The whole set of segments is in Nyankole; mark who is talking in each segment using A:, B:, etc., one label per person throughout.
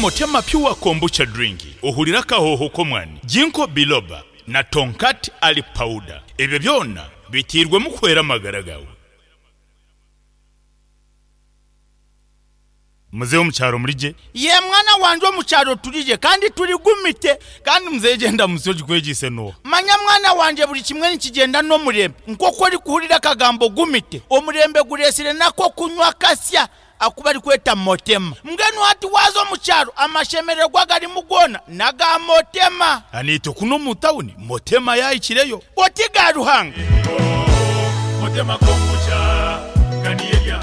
A: Motema Pure Kombucha Drink ohurire akahooho k'omwani, Ginkgo Biloba na Tongkat Ali Powder. Ebyo byona biteirwemu kuhwera amagara gaawe. Muzeeyi omu kyaro muri gye? Yee mwana wangye omu kyaro turi gye kandi turi gumite. Kandi muzeeyi gyenda munsi ogikwegyeise n'oha? Manya mwana wangye buri kimwe nikigyenda n'omurembe. Nk'oku orikuhurira akagambo gumite, omurembe gureetsire n'ak'okunywa kasya aku barikweta Motema. Mbwenu hati waaza omu kyaro amashemererwa agarimu goona n'aga Motema. Naitwe kunu omu tawuni Motema yaahikireyo. Oti ga Ruhanga.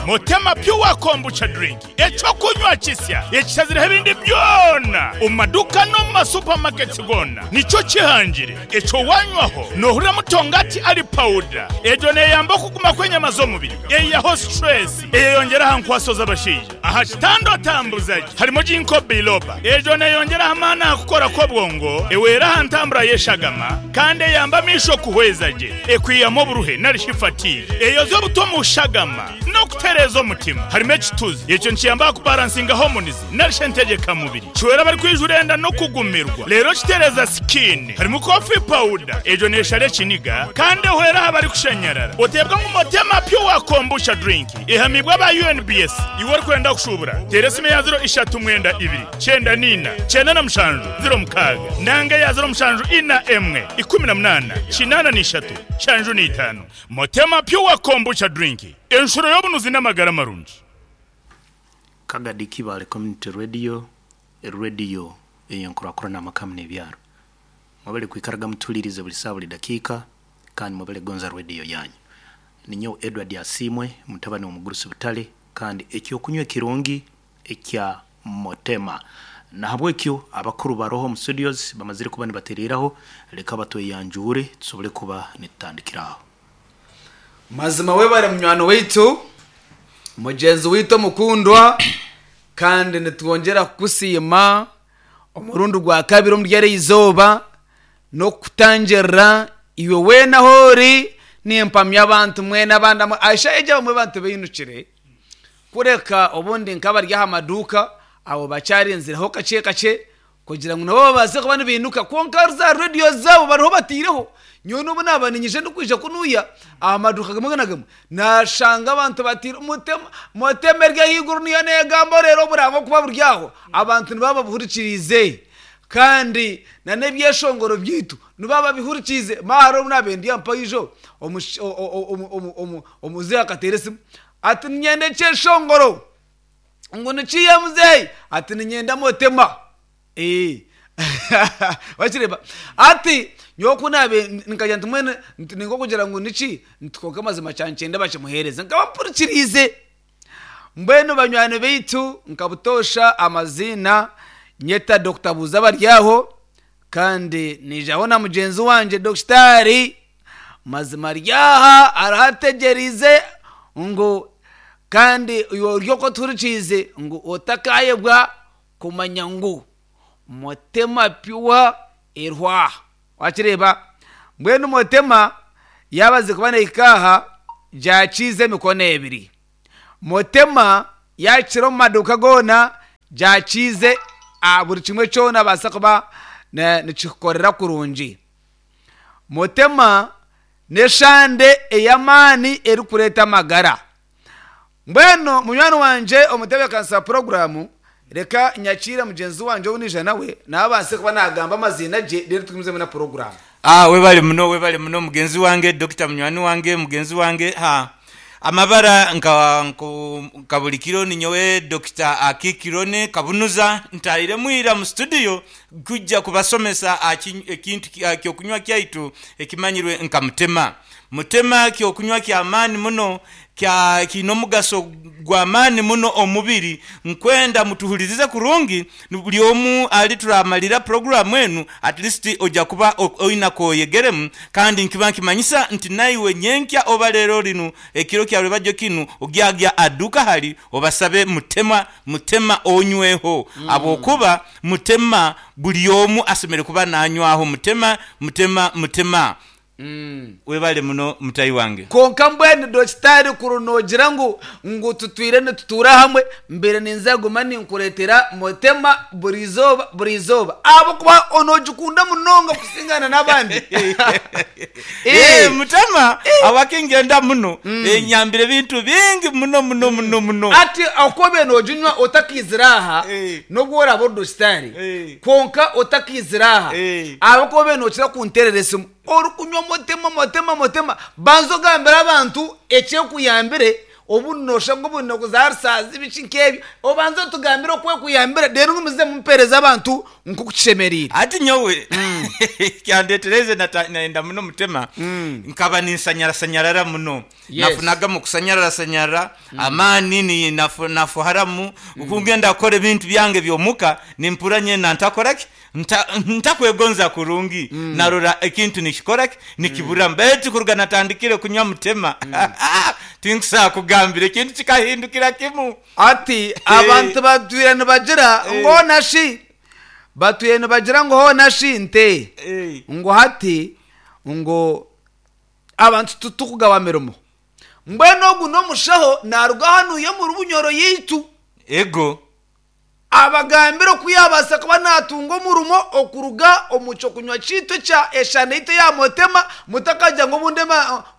A: Motema Pure Kombucha Drink, eky'okunywa kisya ekishazireho ebindi byona omu maduuka n'omu ma supermarkets goona nikyo kihangire. Ekyo wanywaho nohuriramu tongati ali powder. Egyo neyamba okuguma kw'enyama z'omubiri, eyihaho stress, eyeyongyera aha nkwaso z'abashaija. Aha kitanda otambuza gye harimu Ginkgo biloba. Egyo neyongyera aha maani aha kukora kw'obwongo, ehwera aha ntambura y'eshagama, kandi eyamba amaisho kuhweza gye, ekwihamu oburuhe nari shi fatigue, eyoza obuta omu shagama, n'okutereeza omutima. Harimu ekituzi, ekyo nikiyamba aha kubaransinga hormones nari shi entegyeka mubiri. Kihwera abarikwijura enda n'okugumirwa, reero kitereeza skin. Harimu coffee powder, egyo neshara ekiniga kandi ehwera aha barikushanyarara. Oteebwa ngu Motema Pure Kombucha Drink. Ehamiibwe aba UNBS. Iwe orikwenda kushuubura, teera esimu eya ziro ishatu mwenda ibiri, kyenda n'eina, kyenda na mushanju, ziro mukaaga, nanga eya ziro mushanju ina emwe, 18, 83, nshanju n'eitaano. Motema Pure Kombucha Drink, enshuro y'obunuzi n'amagara marungi.
B: Kagadi Kibaale Community Radio, rediyo ey'enkurakurana amaka hamu n'ebyaro. Mwebale kwikaraga mutuhuliirize buli saaha buli dakiika kandi mwebale kugonza rediyo yanyu. Ninyowe Edward Asiimwe, mutabani w'omugurusi Butale kandi eky'okunywa ekirungi ekya Motema. Nahabwekyo abakuru baroho omu studios bamazire kuba nibatereeraho, leka batweyanjuure tusobole kuba nitutandikira aho.
C: Mazima webare munywani waitu, mugyenzi waitu omukundwa, kandi nitwongyera kukusiima omurundi gwa kabiri omuri eri izooba n'okukutangirira iwe weena ahu ori. Nimpamya abantu mwena abandi eshaaha egi abamwe abantu bainukire kureka obundi nk'abari aha maduuka abo bakyarinzireho kakye kakye kugira ngu nabo babaase kuba nibainuka kwonka za rediyo zaabo bariho bataireho. Nyowe n'obu naaba niinyija ndikwija kunuya aha maduuka gamwe na gamwe naashanga abantu bataire mutema mutema eri ahaiguru niyo neegamba oreeba oburango kuba buri aho abantu nibaba babuhurikiriize. Kandi n'ebyeshongoro byaitu nibaba babihurikiize. Mara hariho obu naabaire ndi aha mpaijo, omuzeeyi akateera esimu ati niinyenda ekyeshongoro. Ngu nikiiha muzeeyi? Ati niinyenda motema. Wakireeba? Ati nyowe ku naabaire nkagira nti mbwenu ni nk'okugira ngu niki, nti kwonka amazima kyankyenda bakimuheereze. Nkaba mpurikiriize. Mbwenu banywani baitu nka butoosha amaziina nyeta Dokita Buuza Baryaho kandi niijaho na mugyenzi wangye Dokitaari Mazima Ryaha ariho ategyereize ngu kandi iwe ori okwo otuhurikiize ngu otakaayebwa kumanya ngu Motema Pure eriho aha. Wakireeba? Mbwenu Motema yaabaze kuba neehika aha gyakiiza emikono ebiri. Motema yaakira omu maduuka goona gyakiize aha buri kimwe kyona baasa kuba nikikukorera kurungi. Motema n'eshande ey'amaani erikureeta amagara. Mbwenu munywani wangye omutebeekanisa wa puroguraamu, reka nyakiire mugyenzi wangye ou naija nawe, nawe abaase kuba naagamba amaziina gye reero tugumizemu na puroguraamu.
D: Ah webale muno webale muno mugenzi wange Dokita munywani wange mugenzi wange ha amabara nka nka buli kiro ninyowe Dokita Akikirone Kabunuza ntairemu ira mu studio kujja kubasomesa aha ekintu aha kyokunywa kyaitu ekimanyirwe nka mutema. Mutema ky'okunywa ky'amaani muno, kya kiine omugaso gw'amaani muno omu mubiri. Nkwenda mutuhulirize kurungi, buli omu ali turamalira puroguramu enu, at least oja kuba oine ak'oyegeremu. Kandi nkiba nkimanyisa nti naiwe nyenkya oba leero linu, ekiro kya rwebagyo kinu, ogyagya aha duuka hali obasabe mutema, mutema onyweho. Habw'okuba mutema buli omu asemeriire kuba nanywaho mutema, mutema, mutema. Webale muno mutahi wange.
C: Kwonka mbwenu Dokitaari kuri noogira ngu ngu tutwire nitutuura hamwe, mbaire ninza kuguma ninkureetera Mutema buri izooba buri izooba ahabw'okuba noogikunda munonga kusingana n'abandi.
D: Ee, Mutema awakingyenda muno, enyambire ebintu bingi muno muno muno muno.
C: Ati oku obaire nooginywa otakaizire aha, n'obu oraabe ori Dokitaari, kwonka otakaizire aha, ahabw'okuba obaire nookira kunteerera esimu, Orikunywa mutema mutema mutema banza ogambire abantu ekyekuyambire obundi noshusha ngu obundi nokuza rusaazi biki nkebyo obanze otugambire oku ekuyambire reero ngumizemu mpereze abantu nkoku kishemereire.
D: Hati nyowe ekyandetereize nayenda muno mutema nkaba ninsanyarasanyarara muno Nafunagamu okusanyararasanyarara, amaani nafuharamu, ku ngenda kukora ebintu byange eby'omuka nimpurra nyena ntakora ki? Ntakwegonza kurungi, narora ekintu nikikora ki? Nikiburamu. Baitu kuruga natandikire kunywa mutema, tinkusobora kugambira, ekintu kikahindukira kimu.
C: Ati, Abantu batwire nibagira ngu hoona shi, batwire nibagira ngu hoona shi nte, ngu hati ngu Abantu titukugaba mirimo. Mbwenu ogu n'omushaho naaruga hanuya omuri Bunyoro yaitu.
D: Ego.
C: Abagambire oku yaabaasa kuba naatunga omurimo okuruga omu ky'okunywa kyaitu ekya eshana yaitu eya Motema, mutakagira ngu obundi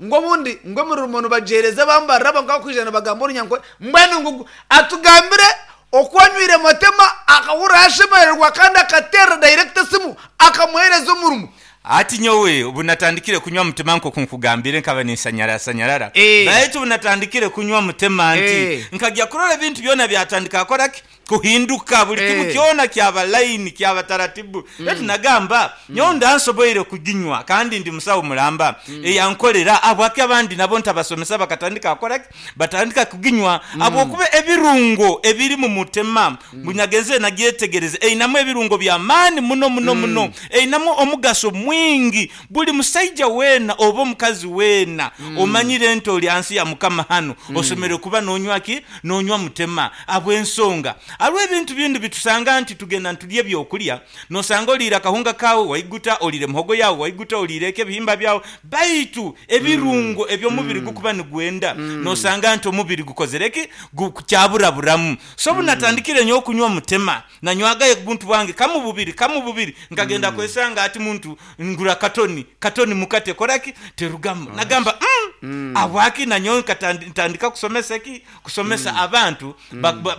C: ngu obundi ngu emirimo nibagiheereza abambarira aba nk'abarikwija nibagamba Orunyankore. Mbwenu ngu atugambire oku anywire Motema akahurira yashemererwa kandi akateerera dayirekita esimu akamuheereza omurimo.
D: Hati nyowe obu natandikire kunywa mutema nk'oku nkugambire nkaba ninsanyarasanyarara. Baitu obu natandikire kunywa mutema nti, nkagya kurora ebintu byona byatandika kukora ki? Kuhinduka. Buli kimu kyona kyaba layini, kyaba taratibu. Baitu nagamba, nyowe ndansoboire kuginywa kandi ndi musawo mulamba eyankolera, habwaki abandi nabo ntabasomesa bakatandika kukora ki? Batandika kuginywa. Habwokuba ebirungo ebiri mu mutema Ngu nyagenzire nagyetegereza, einamu ebirungo by'amaani muno muno muno. Einamu omugaso mwingi. Buli musaija weena oba omukazi weena omanyire nti oli hansi ya Mukama hanu, oshemereire kuba nonywa ki? Nonywa mutema. Habw'ensonga, hariho ebintu bindi bitusanga nti tugenda nitulya ebyokulya, nosanga oliire akahunga kaawe waiguta, oliire muhogo yaawe waiguta, oliire eki ebihimba byawe, baitu ebirungo eby'omubiri gukuba nigwenda, nosanga nti omubiri gukozire ki? Gukyaburaburamu. So obu natandikire nyowe kunywa mutema, nanywagayo buntu bwange kamu bubiri, kamu bubiri, nkagenda kwesanga hati muntu ngura katoni, katoni muka tekora ki? Terugamu. Nagamba, umm, habwaki nanyowe ntandika kusomesa ki? Kusomesa abantu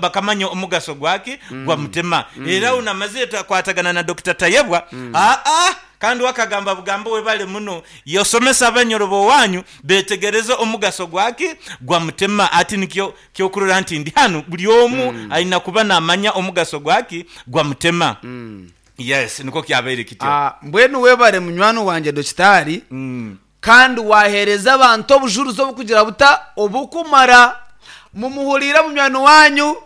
D: bakamanya omugaso gwaki? Gwa mutema. Era aho namazire twakwatagana na Dokita Tayebwa, aa, Kandi we akagamba bugambo webale muno yosomesa abanyoro b'owanyu betegereze omugaso gwaki? Gwa mutema. Ati nikyo kyokurora nti ndi hanu buli omu aina kuba namanya omugaso gwaki? Gwa mutema. Yes nikwo kyabaire kityo.
C: Mbwenu webare munywani wangye Dokitaari Kandi waaheereza abantu obujurizi oburikugira buta? Oburikumara. Mumuhuriire munywani waanyu,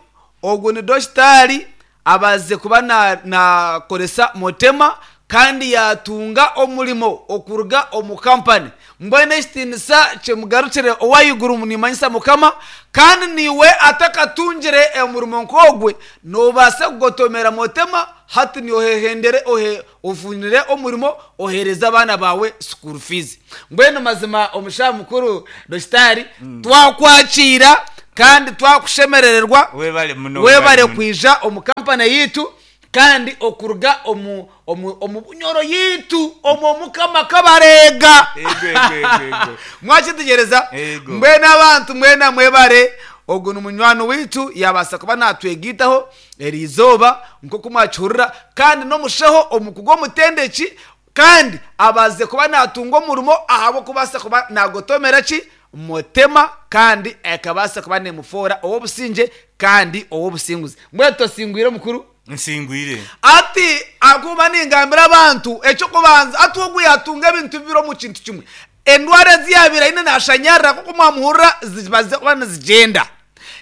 C: ogwo ni dokitaari, abaasize kuba naakoresa Motema kandi yaatunga omurimo okuruga omu kampani. Mbwenu ekitiinisa kimugarukire ow'ahaiguru niimanyisa Mukama, kandi naiwe atakatungire omurimo nk'ogwe, noobaasa kugotomera Motema hati noohehendere ohe Ofunire omurimo ohereze abaana baawe school fees. Mbwenu mazima omushaho mukuru Dokitaari twakwakiira kandi twakushemerererwa.
D: Webale muno,
C: Webale
D: webale muno.
C: kwija omu kampani yaitu kandi okuruga omu omu omu Bunyoro yaitu omu Omukama Kabareega.
D: Ego, ego, ego, ego.
C: Mwakyetegyereza?
D: Ego.
C: Mbwenu abantu mwena mwebare, ogu ni munywani waitu yabaasa kuba natwegaitaho. Eri izooba, nk'oku mwakihurira, kandi n'omushaho omukugu omutendeki, kandi abaasize kuba naatunga omurimo ahabw'okubaasa kuba naagotomera ki? Mutema, kandi ekabaasa kuba neemufoora ow'obusingye kandi ow'obusinguzi. Mbwenu tosingwire omukuru?
D: Nsingwire.
C: Ati, ahabw'okuba ningambira abantu, eky'okubanza, hati ogu yaatunga ebintu bibiri omu kintu kimwe. Endwara ezi yaabaire aine naashanyarara, nk'oku mwamuhurira, zibaasize kuba nizigyenda.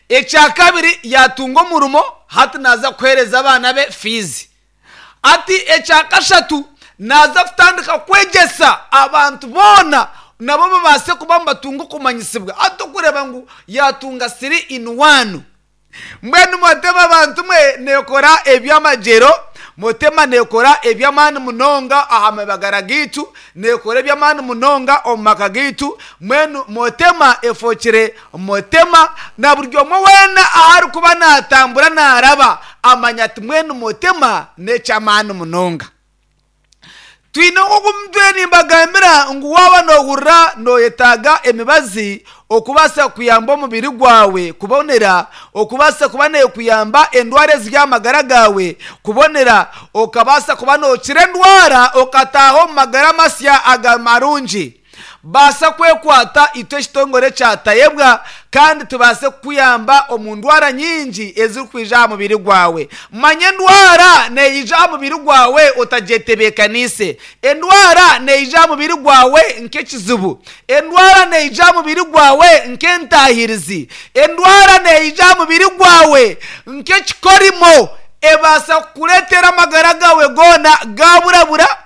C: Ekyakabiri yaatunga omurimo hati naaza kuheereza abaana be fiizi. Hati ekyakashatu naaza kutandika kwegyesa abantu boona nabo babaase kuba nibatunga okumanyisibwa. Hati okureeba ngu yaatunga siri ini wani. Mbwenu mwatema bantu mwe neekora eby'amagyero. Motema neekora eby'amaani munonga aha mabagara gaitu, neekora eby'amaani munonga omu maka gaitu. Mbwenu Motema efookire Motema, na buri omwe weena ahu arikuba naatambura naaraba, amanya ati mbwenu Motema n'eky'amaani munonga. Twine nk'oku ntwire nimbagambira ngu waaba noohurira nooyetaaga emibazi okubaasa kuyamba omubiri gwawe kubonera, okubaasa kuba neekuyamba endwara eziri aha magara gaawe kubonera, okabaasa kuba nookira endwara okataaha omu magara masya aga marungi. Baasa kwekwata itwe ekitongore kya Tayebwa kandi tubaase kukuyamba omu ndwara nyingi ezirikwija aha mubiri gwawe. Manya endwara neija aha mubiri gwawe otagyetebeekaniise. Endwara neija aha mubiri gwawe nk'ekizibu. Endwara neija aha mubiri gwawe nk'entaahirizi. Endwara neija aha mubiri gwawe nk'ekikorimo. Ebaasa kukureetera amagara gaawe goona gaaburabura.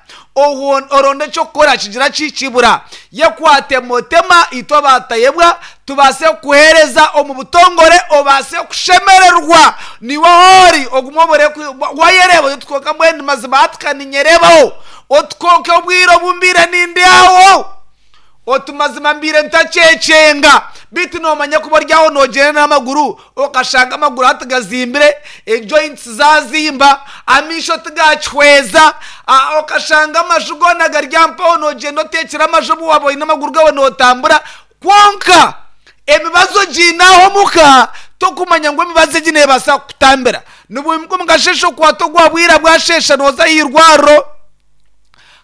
C: Oronde eky'okukora kigira ki kibura. Yekwate motema itwe abatayebwa tubaase kukuheereza omu butongore obaase kushemererwa niiwe ahu ori ogume obure wayereeba oti kwonka mbwenu mazima hati ka ninyereebaho oti kwonka obwire obu mbaire nindi aho oti mazima mbaire ntakyekyenga beitu noomanya kuba ori aho noogyenda n'amaguru okashanga amaguru hati gazimbire, ejoints zaazimba, amaisho tigakihweza, okashanga amaju goona gari aha mpaho noogyenda oteekire amaju obu waaba oine amaguru gaawe nootambura kwonka emibazi ogiine aho omuka tokumanya ngu emibazi egi neebaasa kukutambira. Nibwimuka omu kasheeshe okwata ogwa bwira bwasheesha nooza aha irwariro.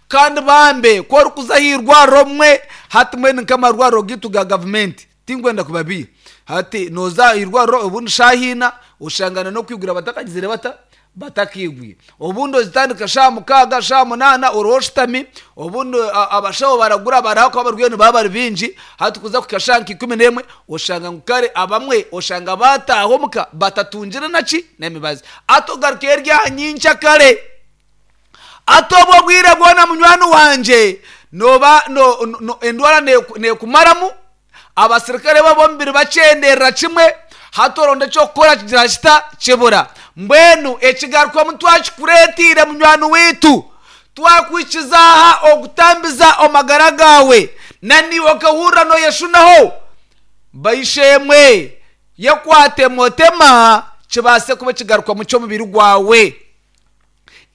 C: Kandi bambe ku orikuza aha irwariro obumwe hati mbwenu nk'amarwariro gaitu ga gavumenti Tinkwenda kubabiiha. Hati nooza aha irwariro obundi shaaha ina oshangana n'okwigura batakagizire bata? Batakaigwire. Obundi ozitandika shaaha mukaaga, shaaha munaana oriho oshutami, obundi abashaho baragura bari ahakuba abarwaire nibaba bari baingi, hati kuza kuhika shaaha nka ikumi n'emwe oshanga ngu kare abamwe oshanga baataaha omuka batatungire naki? N'emibazi. Hati ogarukayo eri aha nyenkyakare. Hati obwo obwire bwona munywani wangye nooba endwara neekumaramu, abasirikare bo ab'omubiri bakyenderera kimwe, hati oronda eky'okukora kigira kita? Kibura. Mbwenu ekigarukwamu twakikureeteire munywani waitu, twakwikiza aha okutambiza amagara gaawe, na naiwe okahurira nooyeshunaho. Baishemwe, yekwate motema kibaase kuba ekigarukwamu ky'omubiri gwawe.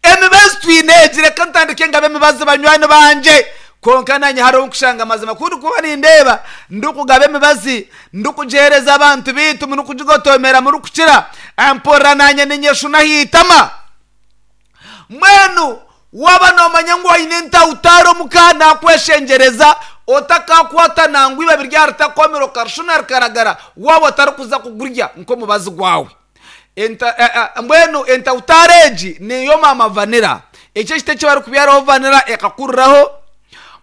C: Emibazi twine egi, reka ntandike ngabe emibazi banywani bangye. Kwonka nanye hariho obu nkushanga amazima ku ndikuba nindeeba ndikugaba emibazi, ndikugiheereza abantu baitu, murikugigotoomera murikukira, mpurira nanye ninyeshuna aha itama. Mbwenu waaba noomanya ngu oine entautaaro omuka, nakweshengyereza otakakwata nangwa eibabi ryawe ritakomire okarishuna rikaragara waaba otarikuza kugurya nk'omubazi gwawe. Enta, e, e, mbwenu entautaaro egi niyo maama vanira. Eki ekiti eki barikubyaraho vanira ekakuriraho.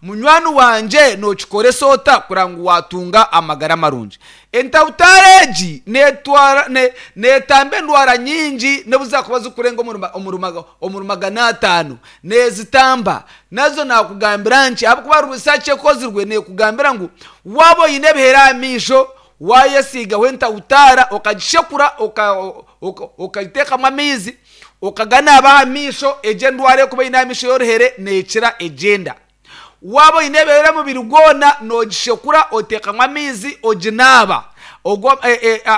C: Munywani wangye nookikoresa ota kureba ngu waatunga amagara marungi? Entautaaro egi neetwara ne, neetamba endwara nyingi n'obu zaakuba zirikurenga omuri omuri omuri 500 neezitamba. Nazo naakugambira nki ahabw'okuba research ekozirwe neekugambira ngu waaba oine ebihere aha maisho, Waayesiigaho entautaara okagishekura okagiteekamu amaizi okaganaaba aha maisho, egyo endwara erikuba eine aha maisho y'oruhere neekira egyenda. Waaba oine ebihere omubiri gwona noogishekura oteekamu amaizi oginaaba. Ogwo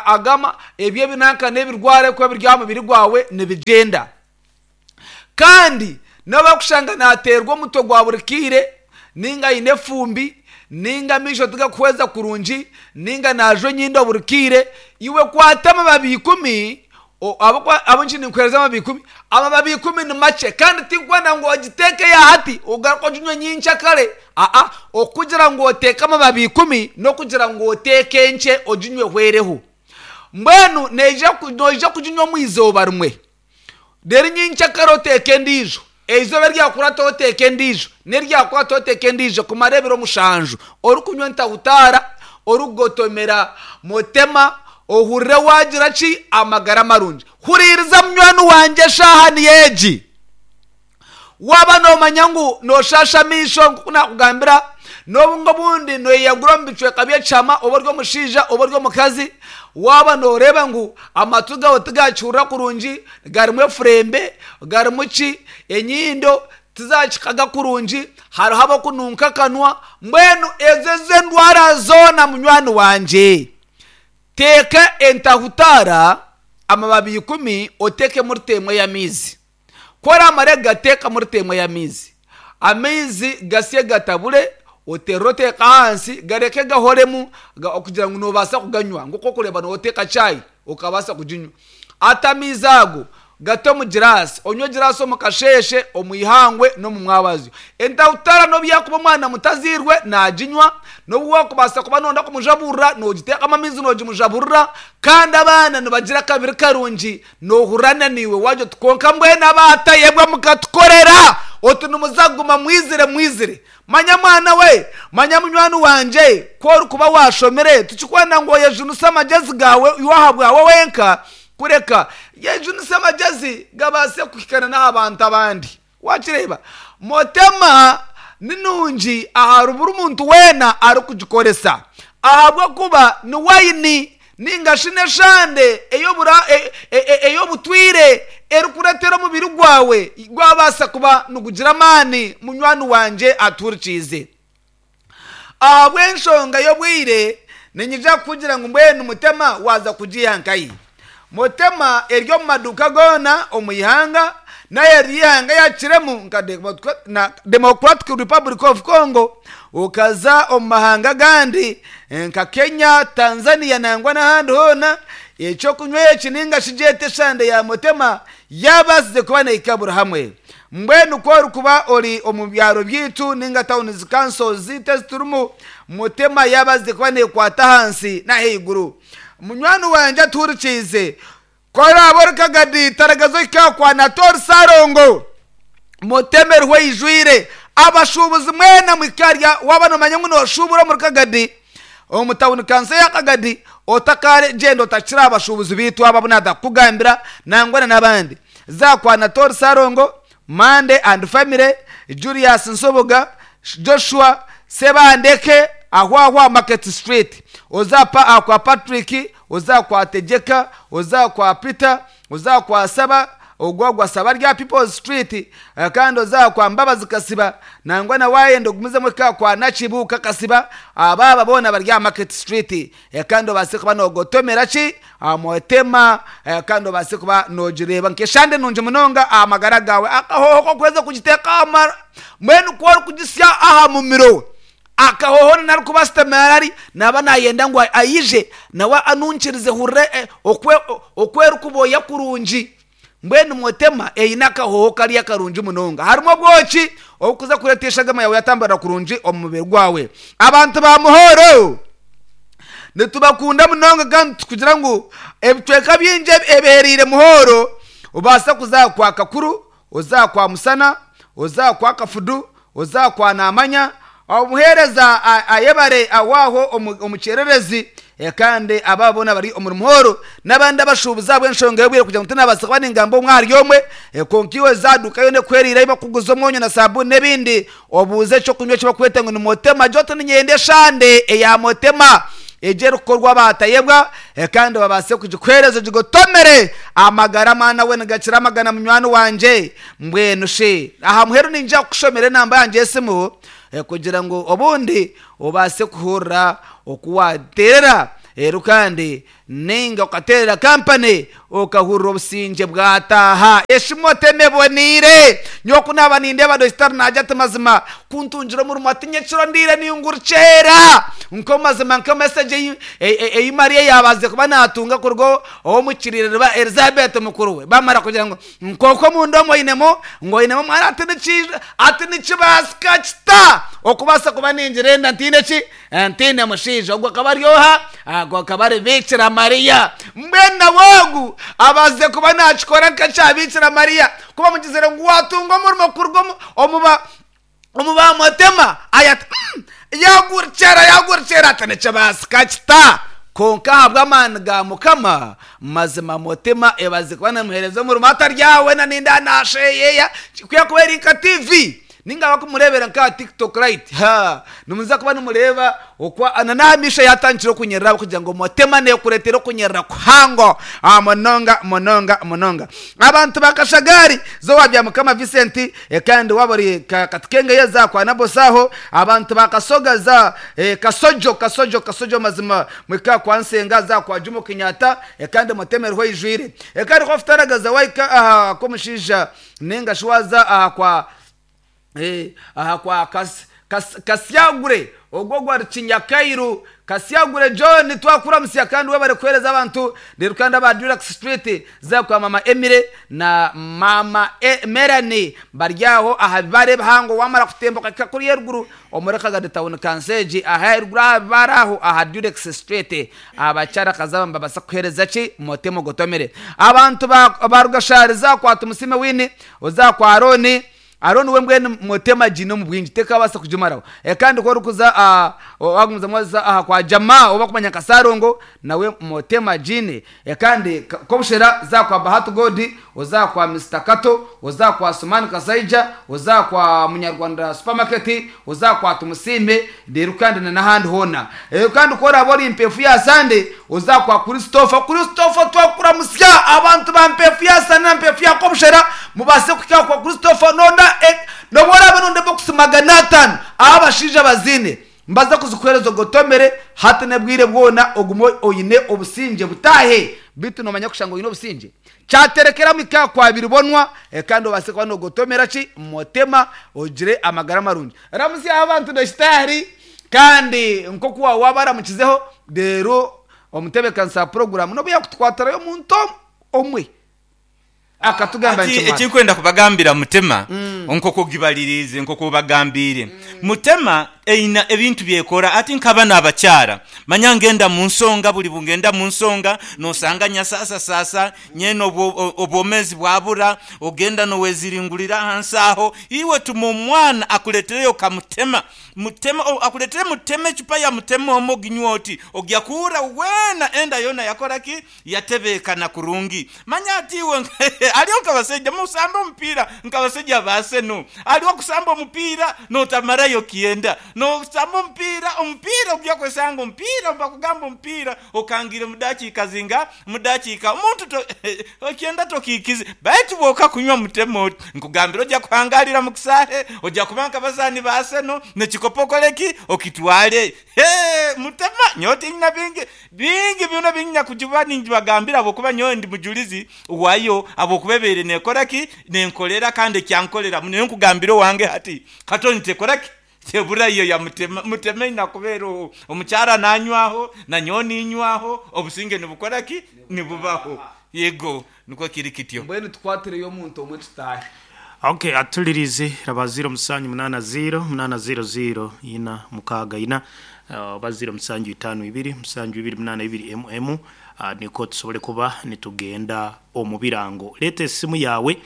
C: agama ebyo ebinanka n'ebirwara ebirikuba biri aha mubiri gwawe nibigyenda. Kandi n'obu arikushanga naateerwa omutwe gwa buri kaire, nainga aine efumbi, nainga amaisho tigarikuhweza kurungi, nainga naajwa enyindo buri kaire, iwe kwata amababi ikumi, ahabw'okuba ahabw'enki ninkuheereza amababi ikumi? Amababi ikumi ni makye kandi tinkwenda ngu ogiteeke aha hati ogaruke oginywe nyenkyakare, aa, okugira ngu oteeke amababi ikumi n'okugira ngu oteeke enkye oginywe ehwereho. Mbwenu noija kuginywa omu izooba rimwe. Reero nyenkyakare oteeke endiijo, eizooba eryakurataho oteeke endiijo, n'eryakurataho oteeke endiijo kumara ebiro mushanju orikunywa entahutaara, orikugotomera motema, ohurire waagira ki? Amagara marungi. Huriiriza munywani wangye eshaaha niyo egi. Waaba noomanya ngu nooshaasha amaisho nk'oku naakugambira, n'obu ngu obundi nooyeyagura omu bicweka by'ekihama oba ori omushaija oba ori omukazi, Waaba nooreeba ngu amatu gaawe tigakihurira kurungi, garimu efurembe, garimu ki, enyindo tizakikaga kurungi, hariho abakununka akanwa, mbwenu ezo ez'endwara zoona munywani wangye, teeka entahutaara amababi ikumi oteekemu rita emwe y'amaizi. Ku oraamare kugateekamu rita emwe y'amaizi, amaizi gasye gatabure, oterere oteeke ahansi gareke gahoremu okugira ngu noobaasa kuganywa nk'oku orikureeba nooteeka chai okabaasa kuginywa. Hati amaizi ago gate omu giraasi, onywe giraasi omu kasheeshe, omu ihangwe n'omu mwabazyo. Entahutara n'obu yaakuba omwana muto azairwe naaginywa, n'obu waakubaasa kuba nooyenda kumujaburira noogiteekamu amaizi noogimujaburira, kandi abaana nibagira akabiri karungi Noohurira naiwe waagira oti, Kwonka mbwenu abaatayebwa mukatukorera oti nimuza kuguma mwizire mwizire. Manya mwana we, manya munywani wangye, ku orikuba waashomire, tikikwenda ngu oyejunise amagyezi gaawe iwe ahabwawe wenka, kureka yejunise amagyezi gabaase kuhikana n'aha bantu abandi. Waakireeba? Motema ni nungi ahari buri muntu weena arikugikoresa, ahabw'okuba ni waini nainga shi n'eshande ey'obutwire erikureetera omubiri gwawe gwabaasa kuba nigugira amaani. Munywani wangye atuhurikiize. Ahabw'enshonga y'obwire, niinyija kukugira ngu mbwenu Mutema waaza kugiiha nkahi? Mutema eri omu maduuka goona omu ihanga n'aheeru y'eihanga eyakiremu nka Democratic Republic of Congo, okaza omu mahanga agandi nka Kenya, Tanzania nangwa n'ahandi hoona. Eky'okunywa eki nainga shi gyete eshande ya Mutema yaabaasize kuba neehika buri hamwe. Mbwenu ku orikuba ori omu byaro byaitu nainga tawuni councils zaitu ezi turimu, Mutema yaabaasize kuba neekwata ahansi n'ahaiguru. Munywani wangye atuhurikiize, ku oraabe ori Kagadi, taragaza ohike aha kwa Natori Ssalongo. Mutema eriho eijwire. Abashuubuzi mwena muhike harya, waaba noomanya ngu nooshuubura omuri Kagadi, omu tawuni kanso ya Kagadi, otakagyenda otakira aha bashuubuzi baitu abo abu naaza kukugambira nangwa na n'abandi. Za kwa Natori Ssalongo, Mande and Family, Julius Nsubuga, Joshua Ssebandeke aho aho aha Market Street. Oze aha kwa Patrick, oze aha kwa Tegyeka, oze aha kwa Peter, oze aha kwa Saba, ogwo ogwa Saba ari aha People's Street, kandi oze aha kwa Mbabazi Kasiba, nangwa na waayenda ogumizemu ohike aha kwa Nakibuuka Kasiba, aba aba boona bari aha Market Street. Kandi obaase kuba noogotomera ki aha mutima, kandi obaase kuba noogireeba nk'eshande nungi munonga aha magara gaawe. Akahooho k'okuheza kugiteeka aha mara, mbwenu ku orikugisya aha mumiro, akahooho na arikuba asitamire ari, naaba naayenda ngu aije nawe anunkirize hurire oku erikuboya kurungi. Mbwenu motema eine akahooho kariya karungi munonga. Harimu obwoki obukuza kureeta eshagama yaawe yatamburira kurungi omu mubiri gwawe. Abantu ba Muhoro nitubakunda munonga kandi tukugira ngu ebicweka bingi ebihereire Muhoro obaasa kuza aha kwa Kakuru, oze aha kwa Musana, oze aha kwa Kafudu, oze aha kwa Namanya, Omuheereza ayebare aho aho omu kyererezi, kandi aba boona abari omuri Muhoro n'abandi abashuubuzi ahabw'enshonga y'obwire kugira ngu tinabaasa kuba ningamba omwe ahari omwe, kwonka iwe za duuka yoona ekuhwereire ahu barikuguza omwonyo na saabuuni n'ebindi, obuuze eky'okunywa eki barikweta ngu ni Motema. Gira oti niinyenda eshande eya Motema egyo erikukorwa baatayebwa kandi babaase kugikuheereza ogigotomere. Amagara mwana we nigakira amagana munywani wangye. Mbwenu shi aha muheru niinyija kukushomera enamba yangye y'esimu kugira ngu obundi obaase kuhurira oku waateerera reero kandi nainga okateerera kampani okahurira obusingye bwataaha. Esimu otema eboneire. Nyowe ku naaba nindeeba Dokitari naagira ati mazima ku ntungire omurimo ati nyekiro ndiire ningurukyeera. Nk'omu mazima nka mesegi ei Maria yaabaasize kuba naatunga kuruga ow'omukiriire Elizaabeeti mukuru we baamara kugira ngu Nk'oku omunda omu oinemu ngu oinemu omwana ati nikiija ati nikibaasika kita okubaasa kuba ningira enda ntaine ki? Ntaine mushaija. Ogwo akaba ari oha? Ogwo akaba ari Biikira Mariya. Mbwenu nawe ogu abaasize kuba naakikora nk'ekya Biikira Mariya ku bamugizire ngu waatunga omurimo kuruga omu omu ba omu baamutema aya ati mm, yagurkyera yagurkyera ati nikibaasika kita? Kwonka ahabw'amaani ga Mukama, mazima Mutima ebaze kuba namuheereza omurimo atari aha weena nindeeba naasheyeya, ku yakuba eri nka TV. Ninga abakumureebera nk'aha TikTok right haa nimuza kuba nimureeba oku na n'aha maisho yaatandikire okunyerera ahabw'okugira ngu Motema neekureetera okunyerera kuhango munonga munonga munonga. Abantu ba Kashagari za owa Byamukama Vincent kandi waaba ori Katukenge za kwa Nabosi aho, abantu ba Kasoga za Kasojo Kasojo Kasojo mazima muhike aha kwa Nsenga za kwa Jumo Kenyatta kandi Motema eriho eijwire. Kandi ku wakutaragaza wahika aha kw'omushaija Nainga shi waaza aha kwa aha kwa Kasyagure ogwo ogwo ari Kinyakairu. Kasyagure John twakuramutsya kandi webare kuheereza abantu. Reero kandi aba Durax Street za kwa Mama Emily na Maama Melanie bari aho aha bibaare ebihango wamara kutemba okahika kuriya eruguru omuri Kagadi Town Kanseegi aha eruguru aha bibaare aho aha Durex Street abakyara kazi aba nibabaasa kukuheereza ki Motema ogotomere. Abantu ba Rugashari za kwa Tumusiime Winnie oza kwa Arooni Arooni we mbwenu Motema agiine omu bwingi tekabaasa kugimaraho. Kandi ku orikuza aha wagumizamu waza aha kwa Jamaa ou barikumanya nka Sarongo nawe Motema agiine. Kandi Kobushera za kwa Bahati God oza kwa Mister Kato oza kwa Sumani Kasaija oza kwa Munyarwanda Supermarket oza kwa Tumusiime reero kandi na n'ahandi hoona. Reero kandi ku oraabe ori Mpeefu ya Sande oza kwa Christopher. Christopher twakuramutsya abantu ba Mpeefu ya Sande na Mpeefu ya Kobushera mubaase kuhika kwa Christopher nonda n'obu oraabe nonda ebokisi 500 ahu abashaija baziine Mbaza kuzikuheereza ogotomere hati n'ebwire bwona ogume oine obusingye butaahe. Beitu noomanya kushanga oine obusingye? Kyaterekeramu ika kwa biribonwa kandi obaase kuba noogotomera ki motema ogire amagara marungi. Ramutsyaho abantu Dokitaari kandi nk'oku waaba waabaramukizeho reero omutebeekanisa wa puroguraamu n'obu yaakutukwatirayo omuntu omwe. Akatugamba
D: Ati,
C: nti, Mwana.
D: Ekinkwenda kubagambira Mutema, nk'oku ogibaliriize, nk'oku obagambiire. Mutema eina ebintu by'ekora. Ati, Nkaba n'abakyara, manya ngenda mu nsonga, buli bungenda mu nsonga, n'osanga nyasasasaasa, nyena obwomeezi bwabura, ogenda n'oweziringurira ahansi agho. Iwe tuma omwana akuleetereyo ka Mutema. Mutema, akuleetere Mutema, ecupa ya Mutema omwo oginywe oti, ogya kuwuura weena enda yoona yakora ki? Yatebeekana kurungi. Manya ati iwe aliho nkabasaija musamba omupiira nkabasaija ba Arsenal. Aliho okusamba omupiira notamarayo kyenda. Nosamba omupiira, omupiira ogya kwesanga omupiira bakugamba omupiira okangiire mu dakiika zinga? Mu dakiika omuntu to ekyenda tokiikize. Baitu bwoka kunywa mutema oti nkugambira oja kuhangalira mu kisaahe, oja kuba nkabazaani ba Arsenal nekikopo okole ki? Okitwale. Hee! Mutema, nyowe tinyina bingi, bingi byona ebi nyina kugiba ningibagambira ahabw'okuba nyowe ndi mujurizi wayo, ahabw'okuba ebaire neekora ki? Nenkorera kandi ekyankorera muno. Nyowe nkugambira owange hati, katoni tekora ki? Tebura yo ya Mutema. Mutema eine kuba eriho. Omukyara nanywaho, na nyowe ninywaho, obusinge nibukora ki? Nibubaho. Yego, nikwo kiri kityo.
C: Mbwenu tukwatireyo omuntu omwe tutaahe.
B: Ok atulirize raba ziiro musanju munaana ziiro munaana ziiro ziiro ina mukaaga ina oba ziiro musanju itaano ibiri musanju ibiri munaana ibiri emu emu nikwo tusobole kuba nitugenda omu birango. Leeta esimu yaawe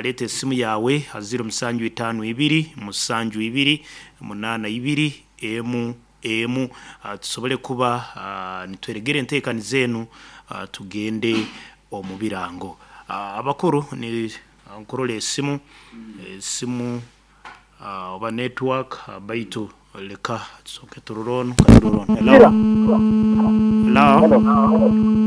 B: leeta esimu yaawe ha ziiro musanju itaano ibiri musanju ibiri munaana ibiri emu emu tusobole kuba nitweregera enteekaniza enu tugende omu birango. Abakuru ni nkurora esimu, esimu oba network baitu leka tusooke turore onu, katurore onu. Hello? Hello?